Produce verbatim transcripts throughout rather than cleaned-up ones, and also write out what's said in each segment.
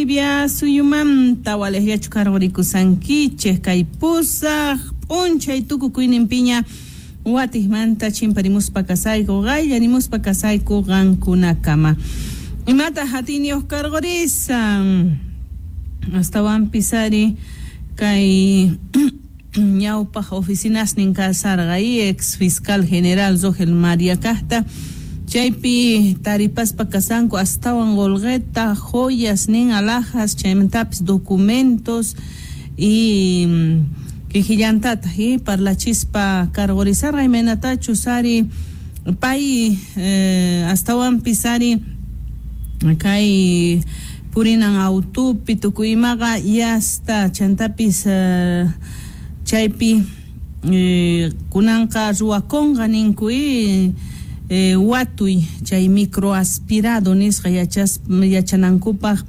Bolivia suyumanta walejllachu karqurikusankichej kay pusaq p'unchay tukukuyninpiña watijmanta chimparimuspa kasayku qayllarimuspa kasayku qankunakama. Imata hatiniyuq karqurisan astawanpis ari kay ñawpaq oficinasnin kasarqa y ex fiscal general Rogel María kaqta chaypi taripaspa kasanku astawan qolqeta joyas nin alhajas chaymantapis documentos y kijillantataq y parlachispa karqurisarqa imaynatachus ari pay eh, astawanpis ari kay purinan autupi tukuy imaqa yasta chantapis eh, chaypi eh, kunanqa ruwakunqa ninku y eh, watuy chay microaspirado nisqa yachas yachanankupaq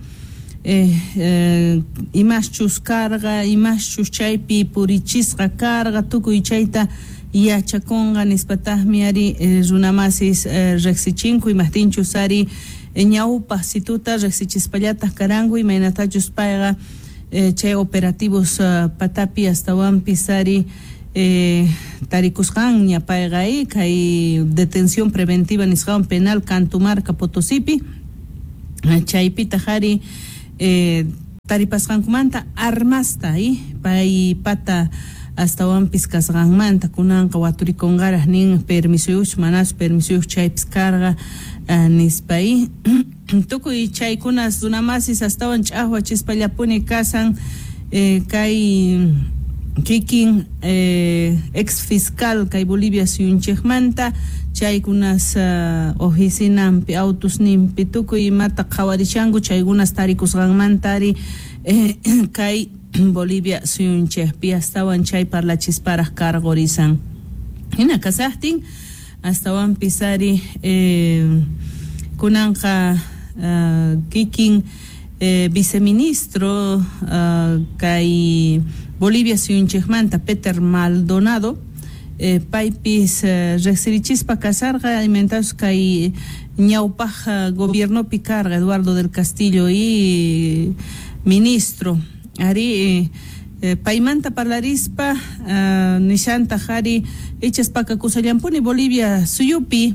eh, eh, imaschus karqa imaschus chaypi purichisqa karqa tukuy chayta yachakunqa nispataqmi ari eh, runamasis eh, riqsichinku imaqtinchus ari ñawpaq situta riqsichispallataq karanku imaynatachus payqa eh, chay operativos uh, patapi astawanpis ari eh, tarikusqanña payqa kay detención preventiva nisqawan penal Cantumarca Potosipi chaypitaq ari eh, taripasqankumanta armasta y pay pata astawanpis kasqanmanta kunanqa waturikunqaraq nin permisuyuq manachu permisuyuq chaypis karqa uh, nispa y tukuy chaykunas runamasis astawan ch'aqwachispallapuni kasan eh, kay kikin eh, ex fiscal kay Bolivia suyunchikmanta chaykunas uh, oficinanpi autusninpi tukuy imata qhawarishanku chaykunas tarikusqanmanta ari eh, kay Bolivia suyunchikpi astawan chay parlachisparaq karqurisan hina kasaqtin astawanpis ari eh, kunanqa uh, kikin eh, viceministro uh, kay Bolivia suyunchikmanta Peter Maldonado eh, paypis eh, riqsirichispa kasarqa imaynatachus kay ñawpaq uh, gobiernopi karqa Eduardo del Castillo y ministro ari eh, paymanta parlarispa uh, nishantaq ari ichas pakakusallampuni Bolivia suyupi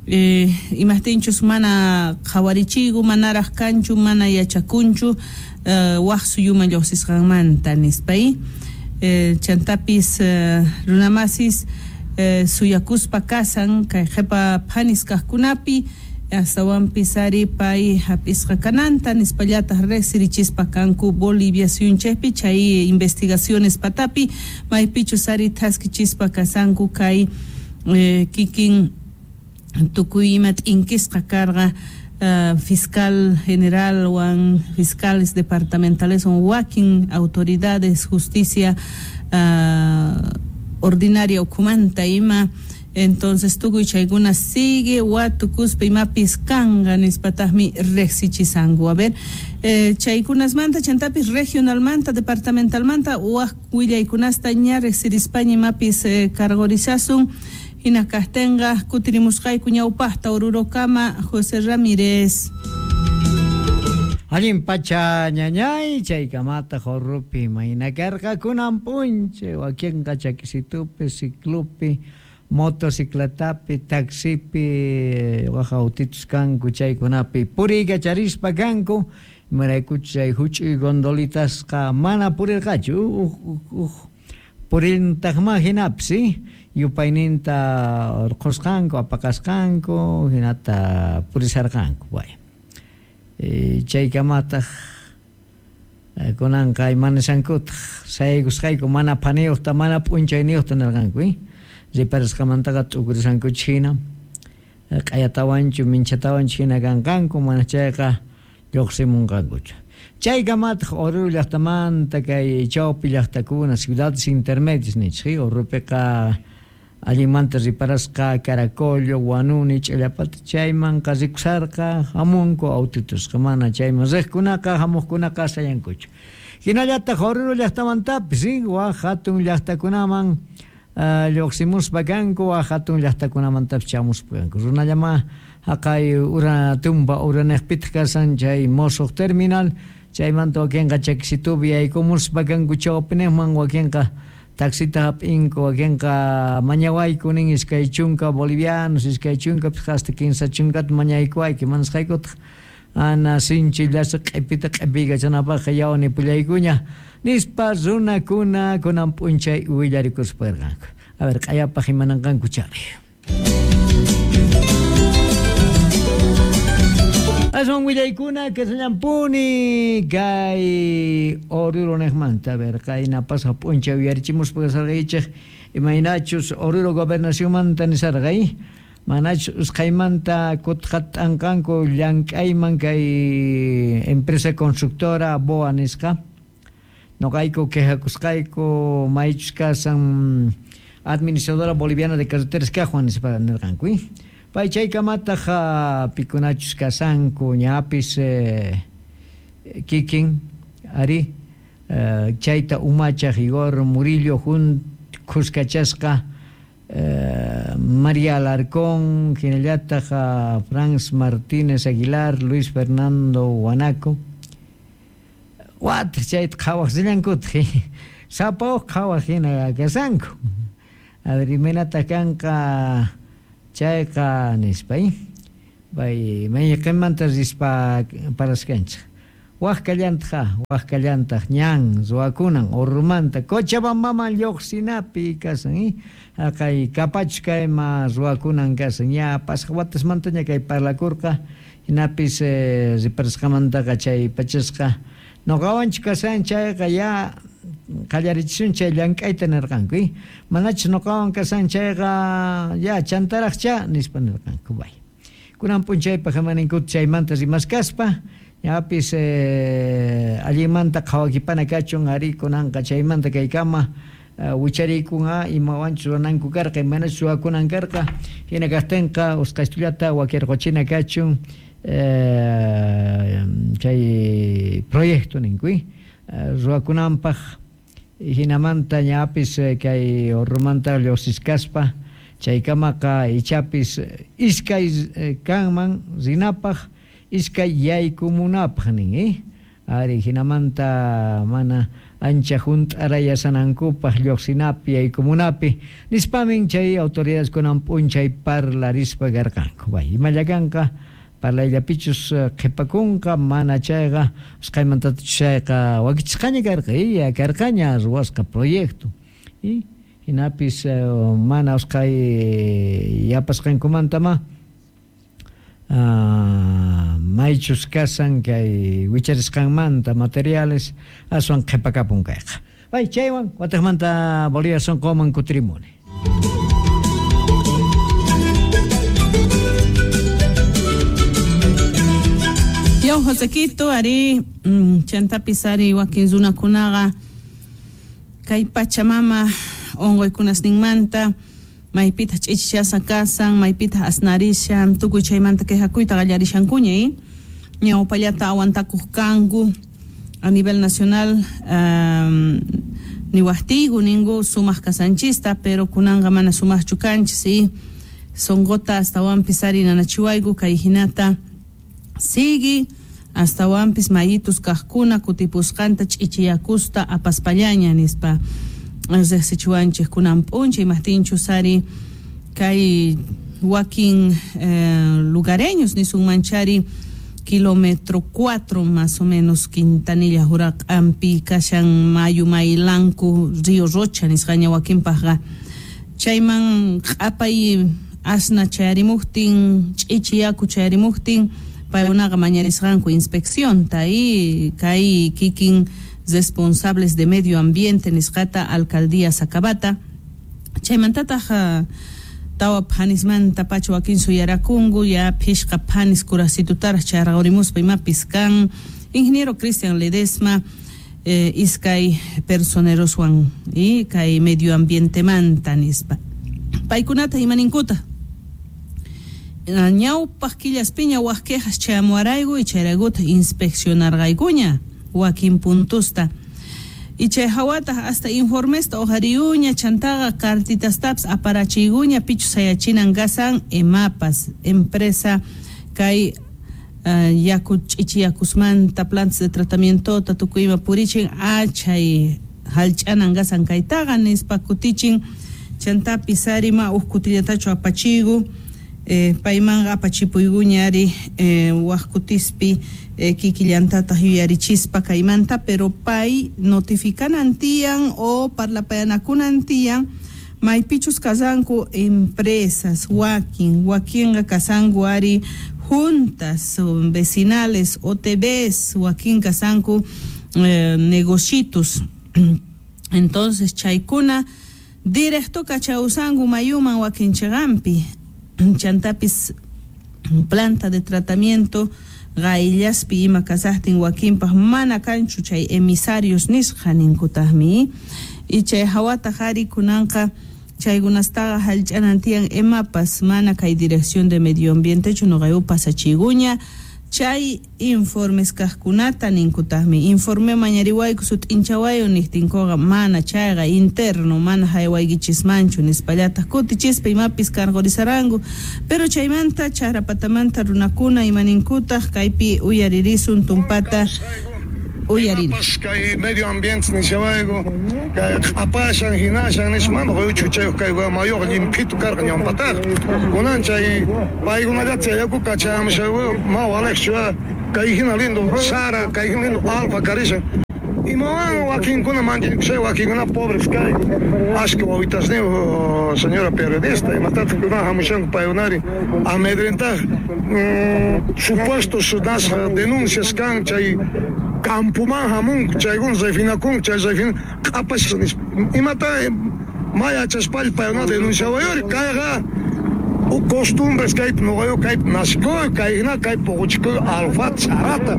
eh, imaqtinchus mana qhawarichigu manaraq kanchu mana yachakunchu uh, waq suyuman lluqsisqanmanta nispa y eh, chantapis uh, runamasis eh, suyakuspa kasan kay qhipa phanis kaqkunapi astawanpis ari pay hap'isqa kananta nispallataq riqsirichispa kanku Bolivia suyunchikpi chay investigaciones patapi maypichus ari thaskichispa kasanku kay eh, kikin tukuy ima t'inkisqa karqa uh, fiscal general wan fiscales departamentales wan wakin autoridades justicia uh, ordinaria ukhumanta ima entonces tukuy chaykuna sigue watukuspa imapis kanqa nispataqmi riqsichisanku. A ver eh, chaykunasmanta chantapis regionalmanta departamentalmanta waq willaykunasta ña riqsirispaña imapis eh, karqurisasun hina kaqtinqa kutirimusqayku ñawpaqta Orurokama José Ramírez. Allin pacha ñañay chaykamata Oruropi mayna karqa kunan p'unchay wakinqa chakisitupi ciclopi motocicletapi taxipi waj autitos kanku chaykunapi puriykacharispa kanku imaraykuchus chay huch'uy gondolitasqa mana purirqachu uj uj purintaqma hinapis yupayninta urqusqanku apaqasqanku hinata purisarqanku bueno e, chaykamataq kunanqa imanisankutaq sayaykusqayku mana phaniyuqta mana p'unchayniyuqta nirqanku eh? Riparasqamantaqa t'ukurisankuchis hina q'ayatawanchu minchatawanchu hina kanqanku mana chayqa lluqsimunqankuchu. Chaykamataq Oruro llaqtamanta kay chawpi llaqtakuna ciudades intermedias nichik Oruropiqa allinmanta riparasqa Caracollo, Huanuni, Ch'illapata chaymanqa rikusarqa hamunku autitusqa mana chayman riqkunaqa hamuqkunaqa sayankuchu. Hinallataq Oruro llaqtamantapis waq hatun llaqtakunaman lluqsimuspa kanku waq hatun llaqtakunamantapis chamuspa kanku runallama Haqay ura tumba uranejpitaq kasan chay mosuq terminal chaymanta wakinqa chakisitupi yaykumuspa kanku chawpinejman wakinqa taxita hap'inku wakinqa mañawayku nin iskay chunka bolivianos iskay chunka hasta kinsa chunkata mañaykuwayki manasqaykutaq ana sinchi llasa q'ipita q'ipiykachanapaqqa yawani pullaykuña nispa runakuna kunan p'unchay willarikuspa karqanku. A ver, q'ayapaq imananqanku chari. Aswan willaykuna kasallampuni kay Oruro nejmanta. A ver, qayna pasaq p'unchay uyarichimuspa kasarqaychej imaynachus Oruro gobernacionmanta nisarqay manachus usqhaymanta kutqat'anqanku llank'ayman kay empresa constructora B O A nisqa noqayku quejakusqayku maychus kasan administradora boliviana de carreteras kajwan nispa nirqanku. Pay chaykamataq pikunachus kasanku ñapis eh, kikin ari eh, chayta umachaj Igor Murillo jun khuskachasqa eh, María Alarcón hinallataq Franz Martínez Aguilar Luis Fernando Guanaco wataq chayta qhawaq rillankutaq sapa uj qhawaq hina kasanku. A ver, imaynataq kanqa chayqa nispa pay mayqinmanta rispa paraskanchik waj kallantaq waj kallantaq ñan ruwakunan Orurumanta Cochabambaman lluqsinapi kasan haqay kapachus kayma ruwakunan kasan ña pasaq watasmantaña kay parlakurqa hinapis eh, riparasqamantaqa chay pachasqa noqawanchu kasan chayqa ya qallarichisun chay llank'ayta nirqanku manachus noqawan kasan chayqa ya chantaraqcha nispa nirqanku bay kunan p'unchaypaq imaninkuta chaymanta rimaskaspa ñapis eh, allinmanta qhawakipana kachun ari kunanqa chaymanta kaykama uh, wichariykunqa imawanchus ruwananku karqa imanachus ruwakunan karqa hina kaqtinqa usqhaystullata wakirquchina kachun eh, chay proyecto ninku ruwakunanpaq hinamanta ñapis kay Orurumanta lluqsiskaspa chaykamaqa ichapis iskay kanman rinapaq iskay yaykumunapaq nin eh ari hinamanta mana ancha hunt'arayasanankupaq lluqsinapi yaykumunapi nispamin chay autoridades kunan p'unchay parlarispa karqanku. Bay imalla kanqa parlayllapichus qhipakunqa mana chayqa usqhaymantatachus chayqa wakichisqaña karqa ya karqaña ruwasqa proyecto y hinapis mana usqhay yapasqankumantama uh, maychus kasan kay wicharisqanmanta materiales aswan qhipakapun kayqa. Bay chaywan wataqmanta Bolivia sunquman kutirimuni. Yaw Josequito ari chantapis ari wakin runakunaqa kay Pachamama unquykunasninmanta maypitaq ch'ichichasqa kasan maypitaq asnarishan tukuy chaymanta quejakuyta qallarishankuña eh ñawpallata awantakuq kanku a nivel nacional um, niwaqtiyku ninku sumaq kasanchista pero kunanqa mana sumaqchu kanchis y sunquta astawanpis ari nanachiwayku kay hinata sigui astawanpis mayitus kaqkuna kutipusqanta ch'ichiyakusta apaspallaña nispa riqsichiwanchik kunan p'unchay imaqtinchus ari kay wakin eh, lugareños nisunmanchari kilómetro cuatro más o menos Quintanilla Juraq'ampi kashan mayu Maylanku Río Rocha nisqaña wakinpaqqa chayman q'apay asna chayarimuqtin ch'ichi yaku chayarimuqtin paykunaqa mañarisqanku inspeccionta y kay kikin responsables de medio ambiente nisqata alcaldía Sacabata chaymantataq tawa phanismanta pacha wakin suyarakunku ya phishqa phanis kurasitutaraq chayraqurimuspa imapis kan ingeniero Cristian Ledesma eh, iskay personeroswan y kay medio ambientemanta nispa paykunata imaninkuta ñawpaq killaspiña wak quejas chayamuwarayku y chayraykuta inspeccionarqaykuña wakin puntusta Y chay hawataq hasta informesta ujariyuña chantaqa cartitastapas aparachiyguña pichu sayachinan gasan EMAPAS empresa kay uh, yaku ch'ichiyakusmanta plantas de tratamiento tukuyma purichin achay hallch'anan gasan kaytaqa nispa kutichin chantapis ari ma uj kutillatachu apachigu eh, paymanqa apachipuyguña ari eh, waj kutispi eh, kikillantataq yuyarichispa kaymanta pero pay notificanan tiyan o parlapayanakunan tiyan maypichus kasanku empresas wakin wakinqa kasanku ari juntas vecinales O T Bs wakin kasanku eh, negocitos entonces chaykuna directo kachawsanku mayuman wakinchiqampi chantapis planta de tratamiento qayllaspi ima kasaqtin wakinpaq mana kanchu chay emisarios nisqa ninkutaqmi y chay hawataq ari kunanqa chaykunastaqa hallch'anan tiyan EMAPAS mana kay dirección de medio ambientechu nuqayku pasachiguña chay informes kaqkunata ninkutaqmi informe mañariwayku sut'inchawayu niqtinkuqa mana chayqa interno mana haywaykichismanchu nispallataq kutichispa imapis cargorizaranku pero chaymanta charapatamanta runakuna imaninkutaq kaypi uyaririsun tumpata uyarina kay medio ambiente nishawayku kay q'apashan hinashan nisman quyuchu kay mayuqa llimphitu karqa ñawpataqa kunan chay paykunallata yaku kachamushawu ma walejchu kay hina lindo sara kay hina lindo alfa karishan imawan wakinkuna manchakushay wakinkuna pobres kay ashka wawitasniyu señora periodista imatataq kuna hamushanku paykunari amedrentaj supuestos nas denuncias kan chay campuman hamunku chaykuna refinakun chay refin q'apash nispa imata maya chaspall paykuna denunciawayuri kayqa costumbres kaypi nuqayu kaypi nasikuy kayhina kaypi puquchikuy alfa sarata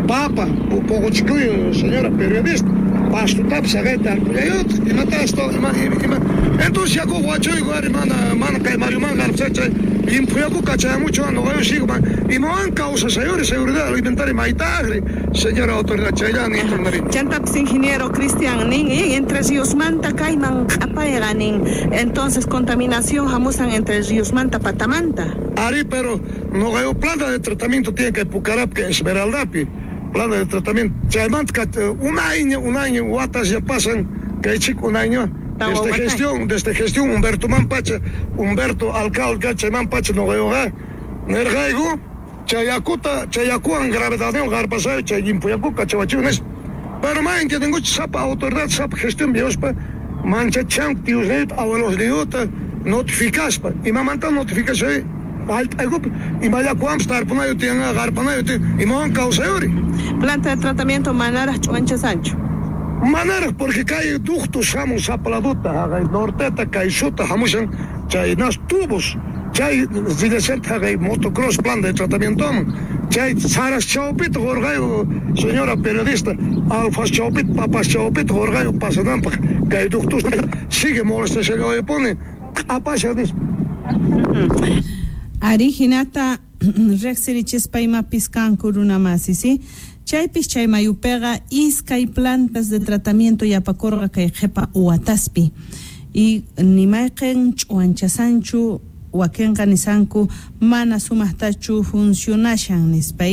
papa puquchikuy señora periodista pastutapis saqayta tarpullayutaq imata esto ima ima entonces yaku wachuyku ari mana mana kay mayuman qarpsay chay llimphu yaku kachayamuchu nuqayu sigo imawan kawsasayuri seguridad alimentaria maytaqri señora autoridad chayllani intornari chantapis ingeniero Cristian nin Entre Ríosmanta kayman q'apayqa nin entonces contaminación hamusan Entre Ríosmanta patamanta ari pero nuqayu planta de tratamiento tiene que Pucarap que Esmeraldapi planta de tratamiento chaymanta un año un año watas ya pasan kay chico un año desde gestión desde gestión Humberto Mampacha Humberto alcalde chaymanpacha nuqayuqa nirqayku chayakuta chayakuwan gravedadniwan qarpasayu chay llimphu kachawachiw nispa pero ma entiendenkuchu sapa autoridad sapa gestión viospa manchachanku tiyusniyuta abuelosniyuta notificaspa imamanta notificashay hallp'aykupi imallakuwanpis tarpunayu tiyanqa qarpanayu tiyan imawan kawsayuri planta de tratamiento manaraq ch'uwanchasanchu manaraq porque kay ductos hamun sapladuta haqay norteta kay suta hamushan chay nas tubos chay rillasanta haqay motocross planta de tratamientoman chay saras chawpita qurqayu señora periodista alfas chawpita papas chawpita qurqayu pasananpaq kay ductos sigue molestashallaypuni q'apasha nispa ari hinata riqsirichispa imapis kanku runamasi si chaypis chay mayupiqa iskay plantas de tratamiento yapakurqa kay qhipa wataspi y nimayqin ch'uwanchasanchu wakinqa nisanku mana sumaqtachu funcionashan nispa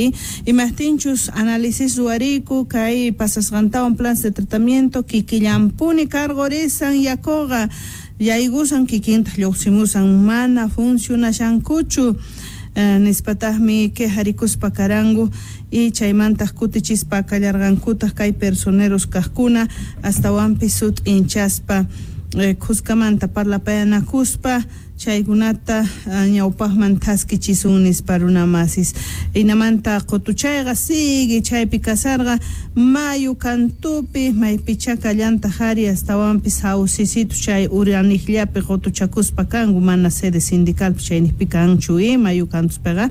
imaqtinchus análisis ruwariyku kay pasasqantawan plantas de tratamiento kikillanpuni cargorisan yakuqa yaykusan kikintaq lluqsimusan mana funcionashankuchu eh, nispataqmi quejarikuspa karanku y chaymantaq kutichispa kallarqankutaq kay personeros kaqkuna astawanpis sut'inchaspa eh, khuskamanta parlapayanakuspa chaykunata ñawpaqman thaskichisun nispa runamasis hinamanta qutuchayqa sigue chaypi kasarqa mayu kantupi maypichá kallantaq ari astawanpis hawsisitu chay uraniqllapi qutuchakuspa kanku mana sede sindicalpi chayniqpi kanchu mayu kantuspiqa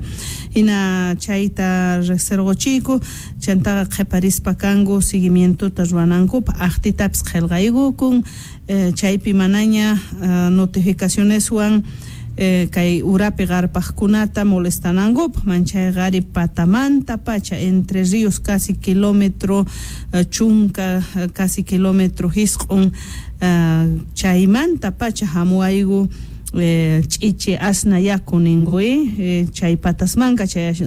hina chayta riqsirquchiyku chantaqa qhiparispa kanku seguimientota ruwanankupaq aqtitapis qillqaykukun eh, chaypi manaña uh, notificacioneswan eh, kay urapi qarpaqkunata molestanankupaq manchayqa ari patamanta pacha Entre Ríos casi kilómetro eh, chunka casi kilómetro hisq'un uh, chaymanta pacha hamuaygu eh, ch'ichi asna yaku ninku eh, chay patasmanka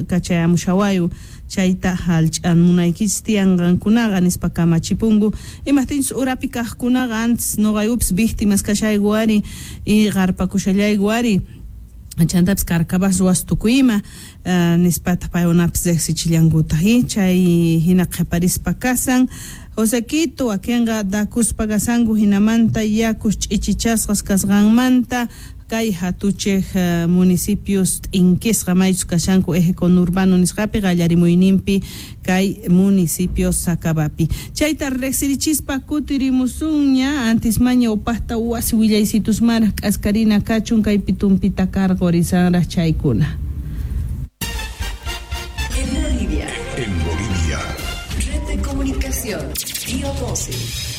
kachayamushawayu chayta hallch'an munaykichis tiyanqankunaqa nispa kamachipunku imajtinchus urapi kaqkunaqa antes noqaykupis víctimas kashayku ari y qarpakushallayku ari chantapis carcabas ruwas tukuyima uh, nispataq paykunapis riqsichillankutaq chay hina qhiparispa kasan Josequito wakinqa dakuspa kasanku hinamanta yakus ch'ichichasqas kasqanmanta kay hatuchej uh, municipios t'inkisqa maychus kashanku eje conurbano nisqapi qallarimuyninpi kay municipio Sacabapi chayta riqsirichispa kutirimusunña antes maña upaqta wasi willaysitusmaraq k'askarina kachun kaypi tumpita karqurisanraq chaykuna. En Bolivia. En Bolivia. Red de Comunicación. Bio doce.